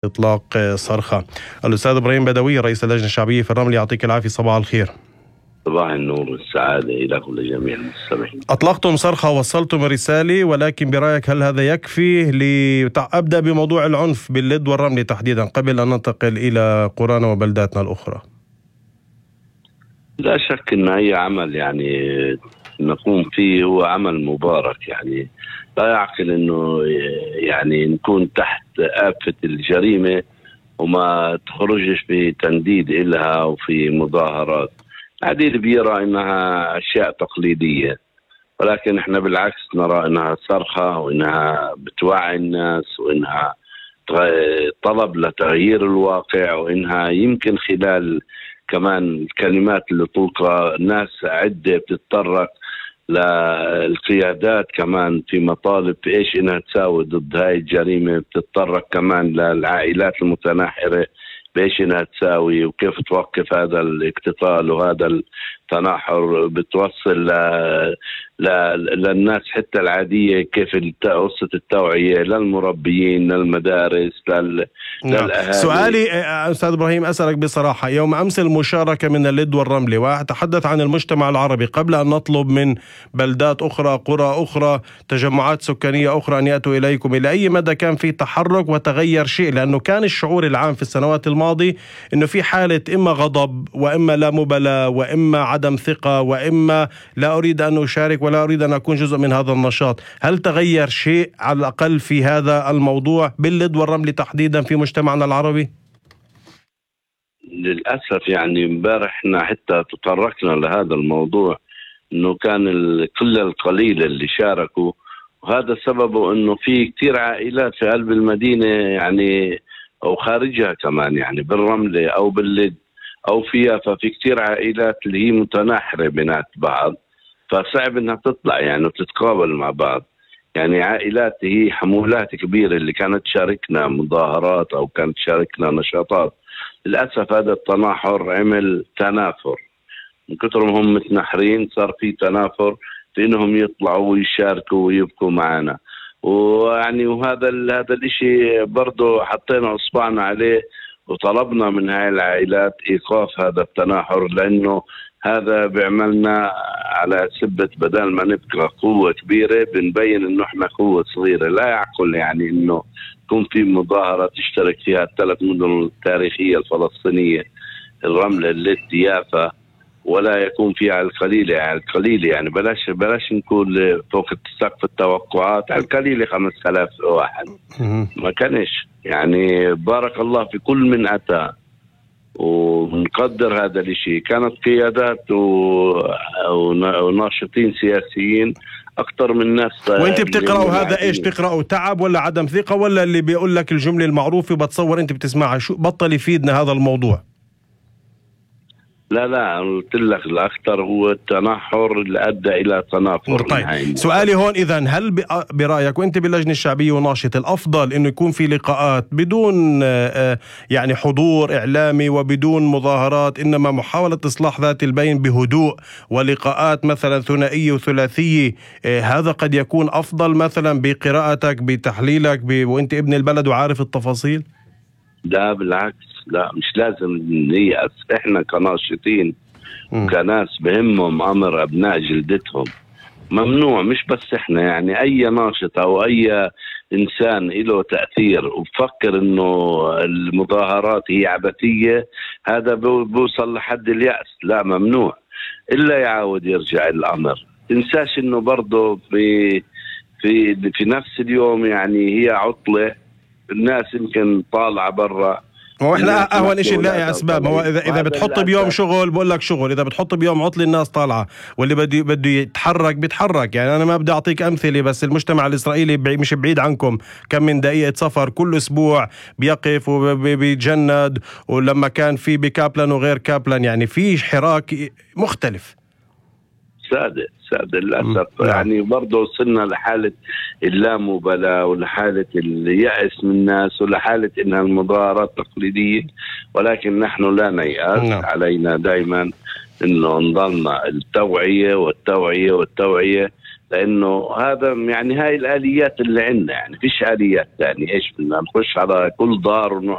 إطلاق صرخة. الأستاذ إبراهيم بدوي رئيس اللجنة الشعبية في الرمل، يعطيك العافية، صباح الخير. صباح النور والسعادة إليكم لجميع المستمعين. أطلقتم صرخة ووصلتم رسالة، ولكن برأيك هل هذا يكفي؟ أبدأ بموضوع العنف باللد والرمل تحديدا قبل أن ننتقل إلى قرانا وبلداتنا الأخرى. لا شك أن أي عمل نقوم فيه هو عمل مبارك، لا يعقل أنه نكون تحت آفة الجريمة وما تخرجش في تنديد إلها وفي مظاهرات. العديد بيرى إنها أشياء تقليدية، ولكن إحنا بالعكس نرى إنها صرخة، وإنها بتوعي الناس، وإنها طلب لتغيير الواقع، وإنها يمكن خلال كمان الكلمات اللي تلقى ناس عدة بتتطرق للقيادات كمان في مطالب في إيش إنها تساوي ضد هاي الجريمة، بتتطرق كمان للعائلات المتناحرة بإيش إنها تساوي وكيف توقف هذا الاقتتال وهذا التناحر، بتوصل للناس حتى العادية كيف قصة التوعية للمربيين للمدارس للأهالي. سؤالي أستاذ إبراهيم أسألك بصراحة، يوم أمس المشاركة من اللد والرملة، وأتحدث عن المجتمع العربي قبل أن نطلب من بلدات أخرى قرى أخرى تجمعات سكانية أخرى أن يأتوا إليكم، إلى أي مدى كان في تحرك وتغير شيء؟ لأنه كان الشعور العام في السنوات الماضية أنه في حالة إما غضب وإما لا مبالاة وإما عدم ثقة وإما لا أريد أن أشارك ولا أريد أن أكون جزء من هذا النشاط. هل تغير شيء على الأقل في هذا الموضوع باللد والرمل تحديدا في مجتمعنا العربي؟ للأسف امبارح احنا حتى تطرقنا لهذا الموضوع، انه كان القلة القليلة اللي شاركوا، وهذا سببه انه في كتير عائلات في قلب المدينة او خارجها كمان بالرملة او باللد او فيها، ففي كتير عائلات اللي هي متناحرة بينات بعض، فصعب انها تطلع وتتقابل مع بعض. عائلات هي حمولات كبيرة اللي كانت تشاركنا مظاهرات او كانت تشاركنا نشاطات، للأسف هذا التناحر عمل تنافر، من كثر ما هم متناحرين صار في تنافر في انهم يطلعوا ويشاركوا ويبقوا معنا. وهذا الاشي برضو حطينا اصبعنا عليه وطلبنا من هاي العائلات ايقاف هذا التناحر، لانه هذا بيعملنا على سبة بدل ما نبقى قوة كبيرة بنبين انه احنا قوة صغيرة. لا يعقل انه يكون في مظاهرة تشترك فيها الثلاث مدن التاريخية الفلسطينية، الرملة، اللد، يافا، ولا يكون فيها القليلة بلاش نكون فوق سقف التوقعات، على القليلة 5000 واحد ما كانش. بارك الله في كل من أتى، ونقدر هذا الشيء. كانت قيادات وناشطين سياسيين أكثر من ناس. وانت بتقرأوا هذا ايش؟ تقرأوا تعب ولا عدم ثقة، ولا اللي بيقول لك الجملة المعروفة بتصور انت بتسمعها؟ شو بطل يفيدنا هذا الموضوع؟ لا قلت لك الأخطر هو التناحر اللي أدى إلى تنافر. طيب سؤالي هون إذن، هل برأيك وأنت باللجنة الشعبية وناشط الأفضل إنه يكون في لقاءات بدون حضور إعلامي وبدون مظاهرات، إنما محاولة إصلاح ذات البين بهدوء ولقاءات مثلا ثنائية وثلاثية؟ هذا قد يكون أفضل مثلا بقراءتك بتحليلك وأنت ابن البلد وعارف التفاصيل. لا بالعكس، لا مش لازم نيأس. احنا كناشطين وكناس بهمهم امر ابناء جلدتهم ممنوع، مش بس احنا، اي ناشط او اي انسان له تأثير وبفكر انه المظاهرات هي عبثية، هذا بوصل لحد اليأس. لا ممنوع الا يعاود يرجع الامر. تنساش انه برضه في نفس اليوم هي عطلة، الناس يمكن طالعة برا، واحنا اهون شيء نلاقي اسباب. هو اذا بتحط بيوم شغل بقول لك شغل، اذا بتحط بيوم عطل الناس طالعه، واللي بده يتحرك بيتحرك. انا ما بدي اعطيك امثله، بس المجتمع الاسرائيلي مش بعيد عنكم، كم من دقيقه سفر كل اسبوع بيقف وبيتجند، ولما كان في بكابلن وغير كابلن في حراك مختلف. سادة للأسف. برضه وصلنا لحالة اللامبالاة ولحالة اليأس من الناس ولحالة إنها المظاهرات تقليدية، ولكن نحن لا نيأس. علينا دائما إنه نضلنا التوعية والتوعية والتوعية، لانه هذا يعني هاي الاليات اللي عندنا، يعني فيش اليات ثانيه. ايش بدنا نخش على كل دار